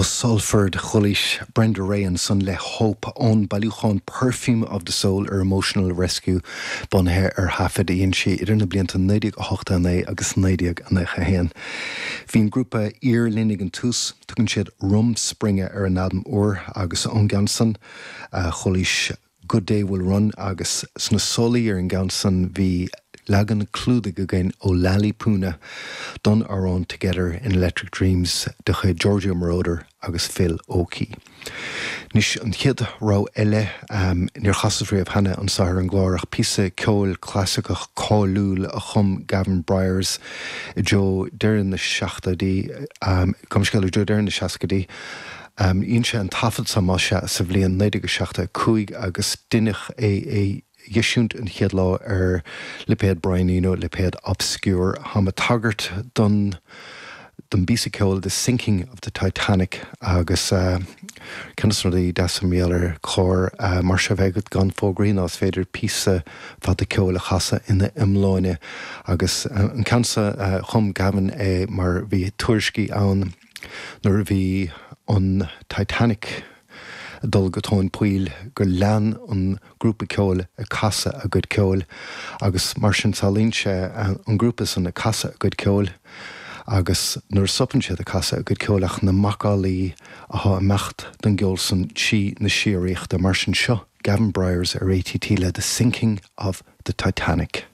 Ó Salford, Chualaís Brenda Rae ansan le Hope ón bailiúchán Perfume of the Soul ar Emotional Rescue, bunaithe ar thaifid a dhein sí idir na blianta 1989 agus 1991. Bhí an grúpa Ír linn ag an tús, tugann siad Rumspringa ar a n-albam úr agus ón gceann san, chualaís Good Day Will Run agus sna solaí ar an gceann san bhí leagan clúdaigh againn ó Lali Puna don amhrán Together in Electric Dreams de chuid Giorgio Moroder agus Phil Oakey. Anois an chéad rogha eile, níor chasas riamh cheana anso ar an gclár ach píosa ceoil clasaiceach cáiliúil a chum Gavin Bryars i dtreo deireadh na seachtóidí, gabh mo leithscéal, i dtreo deireadh na seascaidí. Dhein sé an taifead seo, más ea, sa bhliain 1975 agus deineadh é a dh'eisiúint an chéad lá ar lipéad Brian Eno, lipéad Obscure. Táim ag tagairt don don bpíosa ceoil The Sinking of the Titanic agus ceann de na rudaí deasa mar gheall ar chlár mar seo a bheith agat gan fógraí ná is féidir píosa fada ceoil a chasadh ina iomláine agus an ceann seo chum Gavin é mar bhí tuairiscí ann Nuair a bhí an Titanic ag dul go tóin poill gur lean an grúpa ceoil ag casadh a gcuid ceoil agus mar sin samhlaíonn sé an grúpa san ag casadh a gcuid ceoil agus nuair a stopann siad ag casadh a gcuid ceoil ach na macallaí athá ag imeacht den gceol san trí na síoraíochta. Mar sin seo Gavin Bryars ar ATT le The Sinking of the Titanic.